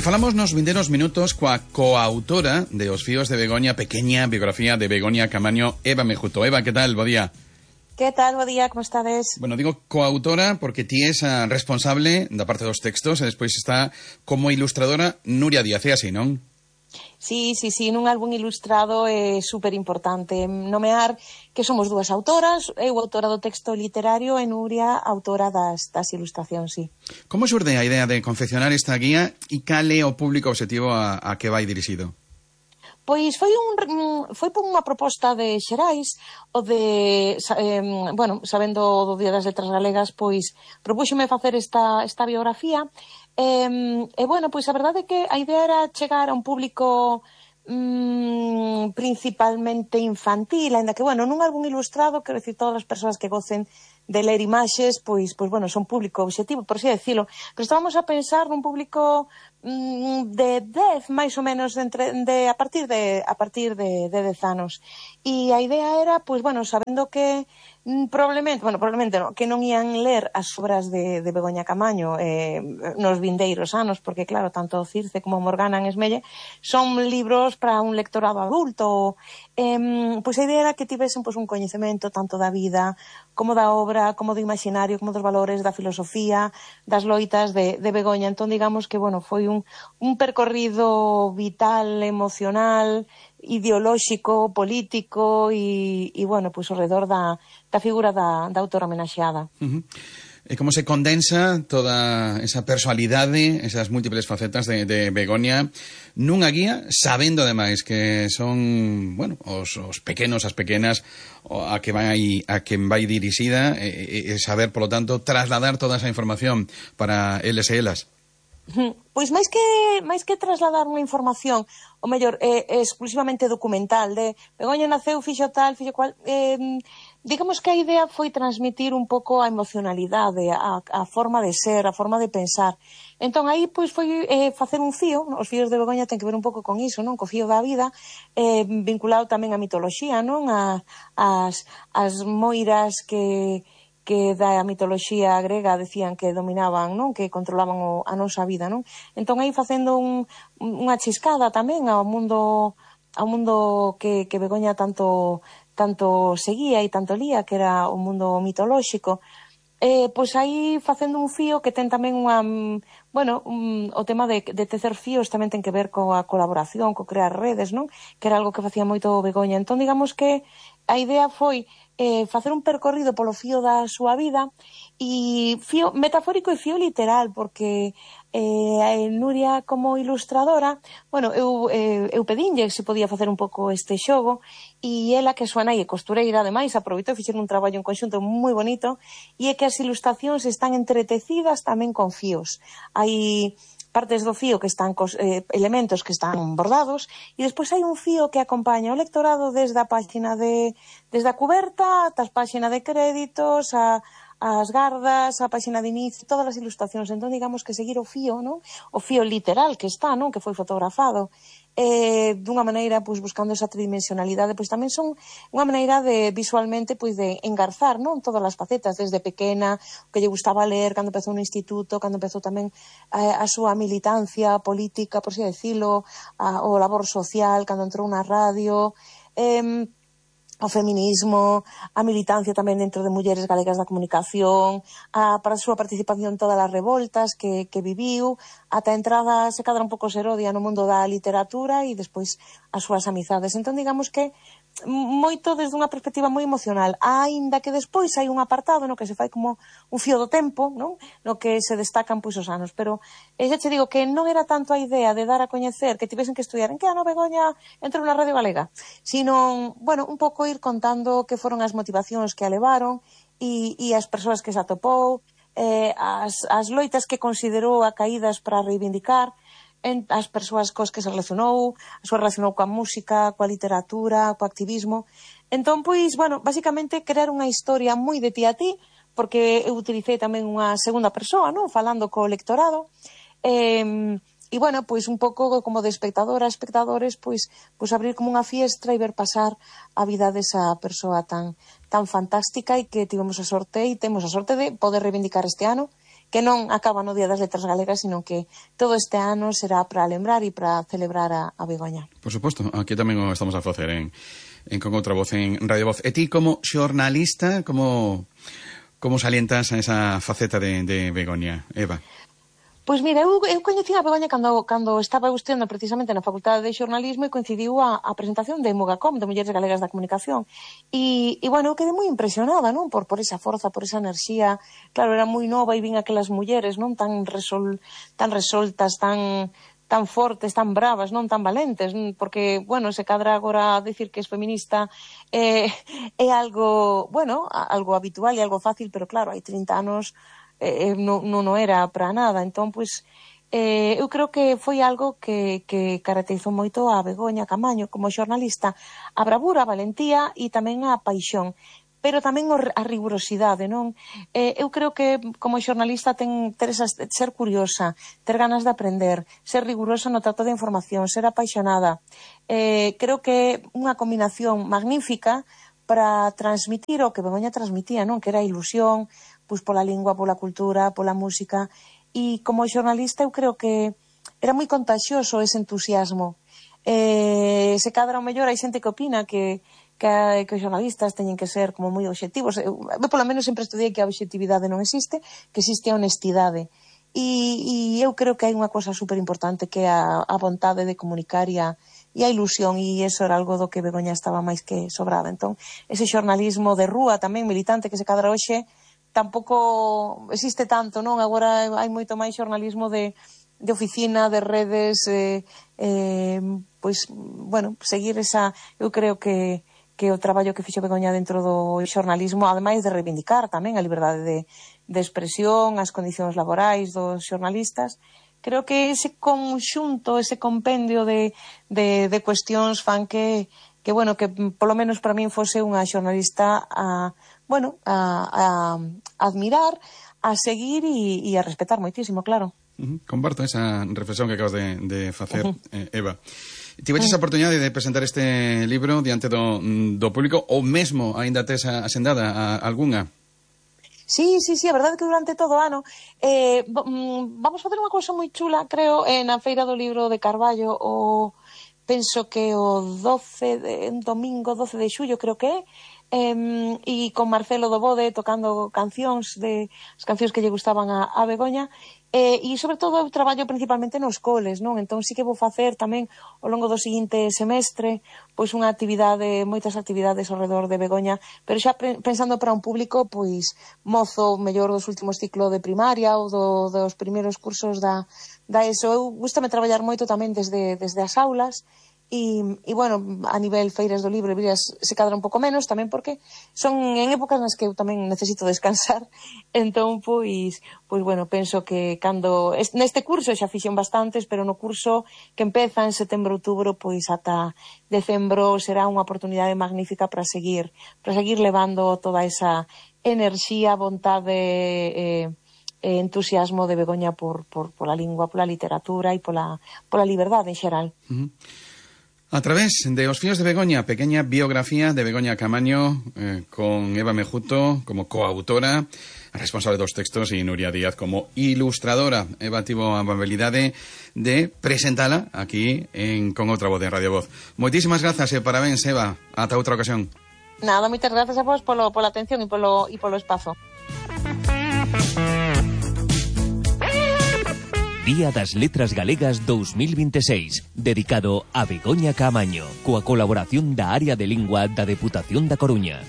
E falamos nos vindeiros minutos coa coautora de Os fíos de Begoña, pequeña biografía de Begoña Camaño, Eva Mejuto. Eva, que tal? Bo día. Que tal? Bo día, como estades? Bueno, digo coautora porque ti es a responsable da parte dos textos e despois está como ilustradora Nuria Díaz, é así, non? Sí, nun álbum ilustrado é super importante nomear que somos dúas autoras, eu autora do texto literario e Nuria autora das ilustracións, sí. Como xurde a idea de confeccionar esta guía e cal é o público objetivo a que vai dirixido? Pois foi por unha proposta de Xerais, o de, sabendo do Día das Letras Galegas, pois propúxome facer esta biografía. Pois a verdade é que a idea era chegar a un público principalmente infantil, ainda que, nun álbum ilustrado, quero dicir, todas as persoas que gocen de ler imaxes, pois son público objetivo, por así decirlo. Pero estábamos a pensar nun público de 10, máis ou menos, a partir de 10 anos. E a idea era, sabendo que probablemente non, que non ian ler as obras de Begoña Camaño nos vindeiros anos, porque claro, tanto Circe como Morgana en Esmelle son libros para un lectorado adulto. Pois a idea era que tivesen un coñecemento tanto da vida como da obra, como do imaginario, como dos valores, da filosofía, das loitas de Begoña. Entón, digamos que, foi un percorrido vital, emocional, ideolóxico, político e ao redor da figura da autora homenaxeada. E como se condensa toda esa personalidade, esas múltiples facetas de Begoña nunha guía, sabendo ademais que son, os pequenos, as pequenas a que vai dirixida e saber, polo tanto, trasladar toda esa información para eles e elas. Pois máis que trasladar unha información, o mellor, exclusivamente documental, de Begoña naceu, fixo tal, fixo cual, digamos que a idea foi transmitir un pouco a emocionalidade, a forma de ser, a forma de pensar. Entón, aí, foi facer un fío, os fíos de Begoña ten que ver un pouco con iso, non? Co fío da vida, vinculado tamén á mitoloxía, non? As moiras que da mitoloxía grega decían que dominaban, non? Que controlaban a nosa vida, non? Entón, aí facendo unha chiscada tamén ao mundo que Begoña tanto seguía e tanto lía, que era o mundo mitolóxico. Pois aí facendo un fío que ten tamén o tema de tecer fíos tamén ten que ver coa colaboración, co crear redes, non? Que era algo que facía moito Begoña. Entón, digamos que a idea foi facer un percorrido polo fío da súa vida, e fío metafórico e fío literal, porque Nuria como ilustradora, eu pedinlle se podía facer un pouco este xogo, e ela, que a súa nai é costureira, ademais, aproveitou e fixeron un traballo en conxunto moi bonito, e é que as ilustracións están entretecidas tamén con fíos. Hai partes do fío que están cos elementos que están bordados, e despois hai un fío que acompaña o lectorado desde a páxina desde a cuberta ata a páxina de créditos, as gardas, a páxina de inicio, todas as ilustracións. Entón, digamos que seguir o fío, non? O fío literal que está, non? Que foi fotografado dunha maneira, buscando esa tridimensionalidade, tamén son unha maneira de, visualmente, de engarzar, non? Todas as facetas, desde pequena, o que lle gustaba ler, cando empezou no instituto, cando empezou tamén a súa militancia política, por así decirlo, o labor social, cando entrou na radio, o feminismo, a militancia tamén dentro de Mulleres Galegas da Comunicación, para a súa participación en todas as revoltas que viviu, ata a entrada, se cadra un pouco serodia no mundo da literatura e despois as súas amizades. Entón, digamos que moito desde unha perspectiva moi emocional, aínda que despois hai un apartado no que se fai como un fío do tempo, non? No que se destacan os anos, pero xa che digo que non era tanto a idea de dar a coñecer que tivesen que estudiar en que ano Begoña entrou na Radio Galega, sino, un pouco ir contando que foron as motivacións que a levaron e as persoas que se atopou, as loitas que considerou acaídas para reivindicar, as persoas cos que se relacionou, coa música, coa literatura, co activismo. Entón, basicamente, crear unha historia moi de ti a ti, porque eu utilicei tamén unha segunda persoa, non? Falando co lectorado, un pouco como de espectadora a espectadores, abrir como unha fiestra e ver pasar a vida desa persoa tan fantástica, e que temos a sorte de poder reivindicar este ano, que non acaba no Día das Letras Galegas, sino que todo este ano será para lembrar e para celebrar a Begoña. Por suposto, aquí tamén o estamos a facer en Con Outra Voz, en Radio Voz. E ti, como xornalista, como salientas a esa faceta de Begoña, Eva? Pois mira, eu coñecín a Begoña cando estaba estudiando precisamente na Facultade de Xornalismo e coincidiu a presentación de Mugacom, de Mulleres Galegas da Comunicación. E bueno, eu quedei moi impresionada, non? Por esa forza, por esa enerxía. Claro, era moi nova e vin aquelas mulleres, non? Tan resoltas, tan fortes, tan bravas, non tan valentes, porque, bueno, se cadra agora dicir que es feminista é algo, bueno, algo habitual e algo fácil, pero claro, hai 30 anos non era para nada. Entón, pois, eu creo que foi algo que caracterizou moito a Begoña Camaño como xornalista, a bravura, a valentía e tamén a paixón, pero tamén a rigurosidade, non? Eu creo que como xornalista ser curiosa, ter ganas de aprender, ser rigurosa no trato de información, ser apaixonada. Creo que unha combinación magnífica para transmitir o que Begoña transmitía, non? Que era a ilusión, pois pola lingua, pola cultura, pola música, e como xornalista eu creo que era moi contagioso ese entusiasmo. Se cadra o mellor hai xente que opina que os xornalistas teñen que ser como moi obxectivos. Eu polo menos sempre estudiei que a obxectividade non existe, que existe a honestidade. E eu creo que hai unha cosa super importante que é a vontade de comunicar e a ilusión, e iso era algo do que Begoña estaba máis que sobrada. Entón, ese xornalismo de rúa tamén militante que se cadra hoxe tampouco existe tanto, non? Agora hai moito máis xornalismo de oficina, de redes, pois, bueno, seguir esa... Eu creo que o traballo que fixo Begoña dentro do xornalismo, ademais de reivindicar tamén a liberdade de expresión, as condicións laborais dos xornalistas, creo que ese conxunto, ese compendio de cuestións fan que bueno, que polo menos para min fose unha xornalista a admirar, a seguir e a respetar moitísimo, claro. Comparto esa reflexión que acabas de facer, Eva. Tiveches a oportunidade de presentar este libro diante do público, ou mesmo aínda tes asendada algunha? Sí, a verdade é que durante todo o ano vamos facer unha cousa moi chula, creo, na Feira do Libro de Carballo, penso que o domingo 12 de xullo, creo que é, e con Marcelo Dobode tocando as cancións que lle gustaban a Begoña, e sobre todo eu traballo principalmente nos coles, non? Entón sí que vou facer tamén ao longo do seguinte semestre pois moitas actividades ao redor de Begoña, pero xa pensando para un público pois mozo, mellor dos últimos ciclo de primaria ou dos primeiros cursos da ESO. Eu gústame traballar moito tamén desde as aulas. E bueno, a nivel feiras do libro se cadra un pouco menos tamén porque son en épocas nas que eu tamén necesito descansar. Entón, pois bueno, penso que cando neste curso xa fixen bastantes, pero no curso que empeza en setembro-outubro, pois ata decembro será unha oportunidade magnífica para seguir levando toda esa enerxía, vontade, entusiasmo de Begoña pola lingua, pola literatura e pola liberdade en xeral. A través de Os fíos de Begoña, pequeña biografía de Begoña Camaño, con Eva Mejuto como coautora, responsable dos textos, e Nuria Díaz como ilustradora. Eva tivo a amabilidade de presentala aquí Con Outra Voz de Radio Voz. Moitísimas grazas e parabéns, Eva. Ata outra ocasión. Nada, moitas grazas a vos pola atención e polo espazo. Día das Letras Galegas 2026, dedicado a Begoña Camaño, coa colaboración da Área de Lingua da Deputación da Coruña.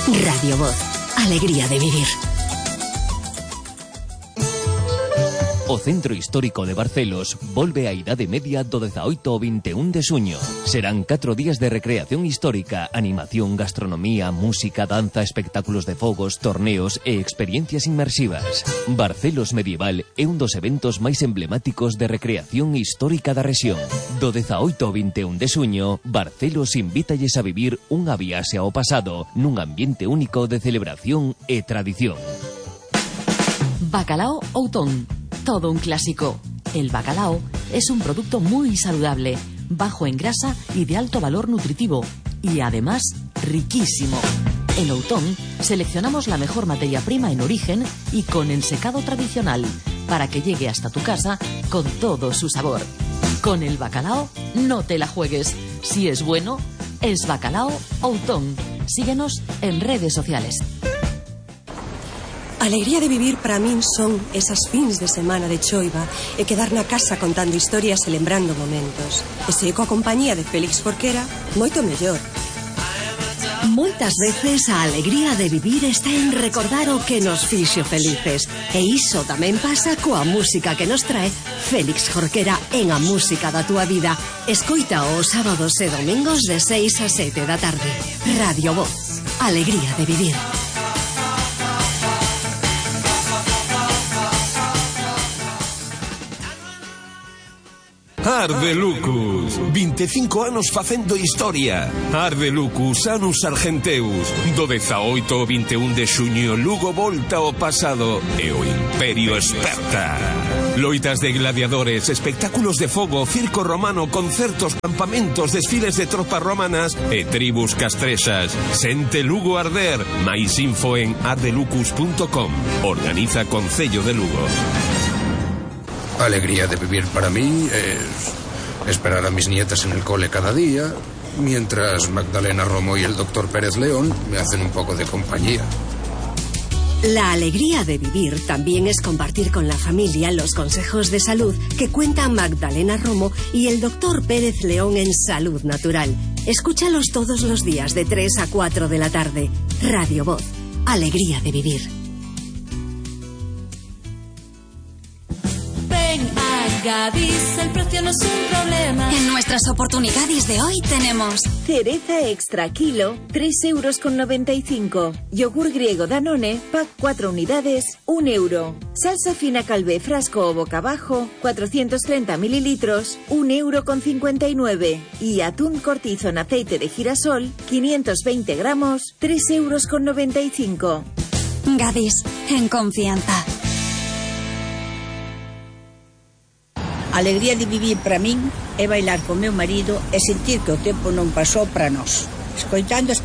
Radio Voz, alegría de vivir. O Centro Histórico de Barcelos volve á Idade Media do 18 ao 21 de xuño. Serán 4 días de recreación histórica, animación, gastronomía, música, danza, espectáculos de fogos, torneos e experiencias inmersivas. Barcelos Medieval é un dos eventos máis emblemáticos de recreación histórica da rexión. Do 18 ao 21 de xuño, Barcelos invítalles a vivir unha viaxe ao pasado nun ambiente único de celebración e tradición. Bacalao Outón. Todo un clásico. El bacalao es un producto muy saludable, bajo en grasa y de alto valor nutritivo, y además riquísimo. En Loutón seleccionamos la mejor materia prima en origen y con ensecado tradicional para que llegue hasta tu casa con todo su sabor. Con el bacalao no te la juegues. Si es bueno, es Bacalao Outón. Síguenos en redes sociales. Alegría de vivir para min son esas fins de semana de choiva e quedar na casa contando historias e lembrando momentos. E se coa compañía de Félix Jorquera, moito mellor. Moitas veces a alegría de vivir está en recordar o que nos fixo felices. E iso tamén pasa coa música que nos trae Félix Jorquera en A Música da Túa Vida. Escoita os sábados e domingos de 6 a 7 da tarde. Radio Voz. Alegría de vivir. Arde Lucus, 25 anos facendo historia. Arde Lucus, Anus Argenteus. Do 18 ao 21 de xuño, Lugo volta ao pasado e o Imperio esperta. Loitas de gladiadores, espectáculos de fogo, circo romano, concertos, campamentos, desfiles de tropas romanas e tribus castrexas. Sente Lugo arder. Mais info en ardelucus.com. Organiza Concello de Lugo. Alegría de vivir para mí es esperar a mis nietas en el cole cada día, mientras Magdalena Romo y el doctor Pérez León me hacen un poco de compañía. La alegría de vivir también es compartir con la familia los consejos de salud que cuentan Magdalena Romo y el doctor Pérez León en Salud Natural. Escúchalos todos los días de 3 a 4 de la tarde. Radio Voz. Alegría de vivir. Gadis, el precio no es un problema. En nuestras oportunidades de hoy tenemos cereza extra kilo, 3,95 €. Yogur griego Danone, pack 4 unidades, 1 €. Salsa fina Calvé frasco o boca abajo, 430 mililitros, 1,59 €. Y atún cortizo en aceite de girasol, 520 gramos, 3,95 €. Gadis, en confianza. Alegría de vivir para min é bailar co meu marido e sentir que o tempo non pasou para nós, escoitando as